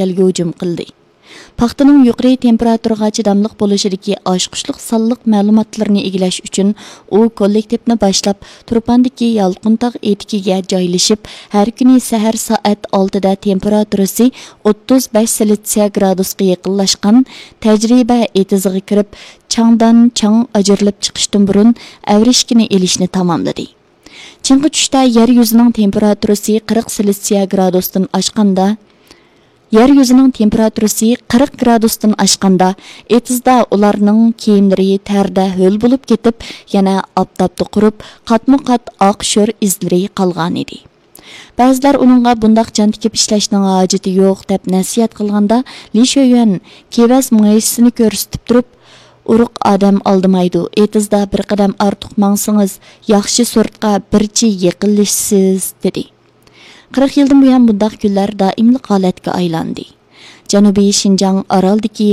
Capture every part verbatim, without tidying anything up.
يەلگە ھۇجۇم قىلدى. پاختىنىڭ يۇقىرى تېمپېراتۇرىغا چىداملىق بولۇشىدىكى ئاچقۇچلۇق سانلىق مەلۇماتلىرىنى ئىگىلەش ئۈچۈن، ئۇ كوللېكتىپنى باشلاپ، تۇرپاندىكى يالقۇنتاغ ئېتىكىگە جايلىشىپ، ھەر كۈنى سەھەر سائەت ئالتىدە تېمپېراتۇرىسى ئوتتۇز بەش سېلسىيە گرادۇسقا يېقىنلاشقان تەجرىبە ئېتىزىغا كىرىپ، چاڭدان چاڭ ئاجرىلىپ چىقىشتىن بۇرۇن ئەۋرىشكىنى ئېلىشنى تاماملىدى. چىڭقا چۈشتە يەر يۈزىنىڭ تېمپېراتۇرىسى قىرىق سېلسىيە گرادۇستىن ئاشقاندا، يەر يۈزىنىڭ تېمپېراتۇرىسى قىرىق گرادۇستىن ئاشقاندا، ئېتىزدا ئۇلارنىڭ كىيىملىرى تەردە ھۆل بولۇپ كېتىپ، يەنە ئاپتاپتا قۇرۇپ، قاتمۇ قات ئاق شور ئىزلىرى قالغانىدى. بەزىلەر ئۇنىڭغا بۇنداق جان تىكىپ ئىشلەشنىڭ ھاجىتى يوق، دەپ نەسىھەت قىلغاندا، لى شۆيۈەن كېۋەز مۇئەييىسىنى كۆرسىتىپ تۇرۇپ، ئۇرۇق ئادەم ئالدىمايدۇ، ئېتىزدا بىر قەدەم ئارتۇق ماڭسىڭىز، ياخشى سورتقا بىرچە يېقىنلىشىسىز، دېدى. قىرىق يىلدىن بۇيان بۇنداق كۈنلەر دائىملىق ھالەتكە ئايلاندى. جەنۇبىي شىنجاڭ ئارالدىكى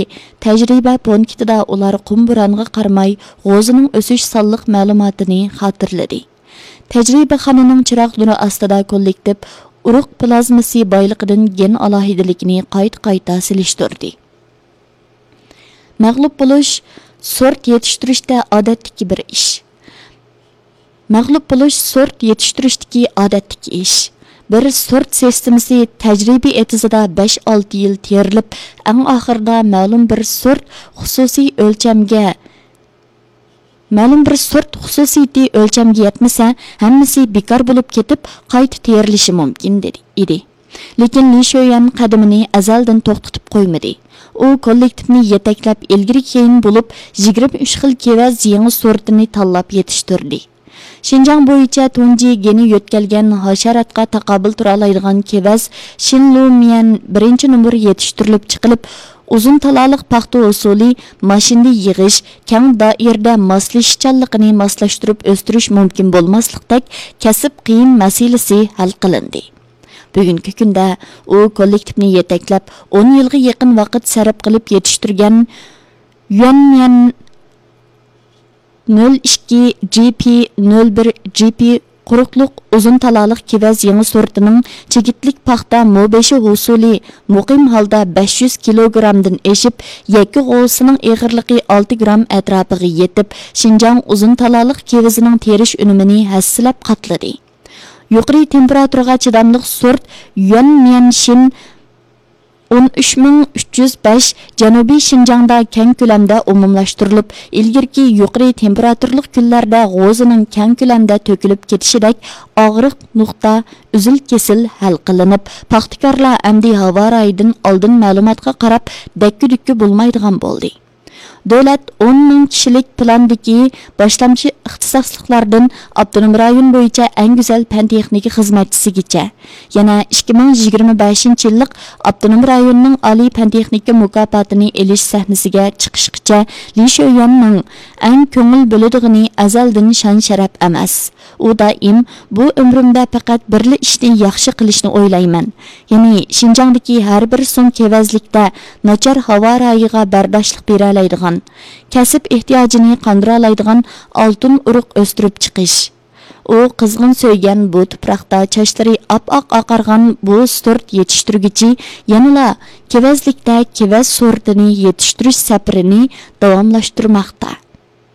تەجرىبە پونكىتىدا ئۇلار قۇم بورانغا قارىماي، غوزىنىڭ ئۆسۈش سانلىق مەلۇماتىنى خاتىرىلىدى. تەجرىبىخانىنىڭ چىراغ نۇرى ئاستىدا كوللېكتىپ ئۇرۇق پلازمىسى بايلىقىدىن گېن ئالاھىدىلىكىنى قايتا-قايتا سېلىشتۇردى. مەغلۇپ بولۇش سورت يېتىشتۈرۈشتە ئادەتتىكى بىر ئىش. مەغلۇپ بولۇش سورت يېتىشتۈرۈشتىكى ئادەتتىكى ئىش. بىر سورت سىستېمىسى تەجرىبە ئېتىزىدا بەش-ئالتە يىل تېرىلىپ، ئەڭ ئاخىرىدا مەلۇم بىر سورت خۇسۇسىي ئۆلچەمگە، مەلۇم بىر سورت خۇسۇسىيىتى ئۆلچەمگە يەتمىسە، ھەممىسى بىكار بولۇپ كېتىپ، قايتا تېرىلىشى مۇمكىن، دېدى، ئىدى. لېكىن لى شۆيۈەن قەدىمىنى ئەزەلدىن توختىتىپ قويمىدى. ئۇ كوللېكتىپنى يېتەكلەپ، ئىلگىرى-كېيىن بولۇپ، يىگىرمە ئۈچ خىل كېۋەز يېڭى سورتىنى تاللاپ يېتىشتۈردى. شىنجاڭ بويىچە تۇنجى گېنى يۆتكەلگەن ھاشاراتقا تاقابىل تۇرالايدىغان كېۋەز شىنلۇميەن بىرىنچى نومۇر يېتىشتۈرۈلۈپ چىقىلىپ، ئۇزۇن تالالىق پاختا ھوسۇلى ماشىنىدا يىغىش، كەڭ دائىرىدە ماسلىشىشچانلىقىنى ماسلاشتۇرۇپ ئۆستۈرۈش مۇمكىن بولماسلىقتەك كەسىپ قىيىن مەسىلىسى ھەل قىلىندى. بۈگۈنكى كۈندە ئۇ كوللېكتىپنى يېتەكلەپ، ئون يىلغا يېقىن ۋاقىت سەرپ قىلىپ يېتىشتۈرگەن يۈەنميەن نۆل ئىككى جى پى، نۆل بىر جى پى قۇرۇقلۇق ئۇزۇن تالالىق كېۋەز يېڭى سورتىنىڭ چىگىتلىك پاختا مو بېشى ھوسۇلى مۇقىم ھالدا بەش يۈز كىلوگرامدىن ئېشىپ، يەككە غوۋىسىنىڭ ئېغىرلىقى ئالتە گرام ئەتراپىغا يېتىپ، شىنجاڭ ئۇزۇن تالالىق كېۋىزىنىڭ تېرىش ئۈنۈمىنى ھەسسىلەپ قاتلىدى. يۇقىرى تېمپېراتۇرىغا چىداملىق سورت يۈەن ميەنشىن ئون ئۈچ مىڭ ئۈچ يۈز بەش جەنۇبىي شىنجاڭدا كەڭ كۆلەمدە ئومۇملاشتۇرۇلۇپ، ئىلگىرىكى يۇقىرى تېمپېراتۇرلۇق كۈنلەردە غوزىنىڭ كەڭ كۆلەمدە تۆكۈلۈپ كېتىشىدەك ئاغرىق نۇقتا ئۈزۈل-كېسىل ھەل قىلىنىپ، پاختىكارلار ئەمدى ھاۋا رايىدىن ئالدىن مەلۇماتقا قاراپ دەككە-دۈككە بولمايدىغان بولدى. دۆلەت ئون مىڭ كىشىلىك پىلاندىكى باشلامچى ئىختىساسلىقلاردىن ئاپتونوم رايون بويىچە ئەڭ گۈزەل پەن-تېخنىكا خىزمەتچىسىگىچە، يەنە ئىككى مىڭ يىگىرمە بەشىنچى يىللىق ئاپتونوم رايوننىڭ ئالىي پەن-تېخنىكا مۇكاپاتىنى ئېلىش سەھنىسىگە چىقىشقىچە لى شۆيۈەننىڭ ئەڭ كۆڭۈل بۆلىدىغىنى ئەزەلدىن شان-شەرەپ ئەمەس. ئۇ دائىم، «بۇ ئۆمرۈمدە پەقەت بىرلا ئىشنى ياخشى قىلىشنى ئويلايمەن، يەنى شىنجاڭدىكى ھەر بىر سۇڭ كېۋەزلىكتە ناچار ھاۋا رايىغا بەرداشلىق بېرەلەيدىغان، كەسىپ ئېھتىياجىنى قاندۇرالايدىغان ئالتۇن ئۇرۇق ئۆستۈرۈپ چىقىش.» ئۇ قىزغىن سۆيگەن بۇ تۇپراقتا چاچلىرى ئاپئاق ئاقارغان بۇ سورت يېتىشتۈرگۈچى يەنىلا كېۋەزلىكتە كېۋەز سورتىنى يېتىشتۈرۈش سەپىرىنى داۋاملاشتۇرماقتا.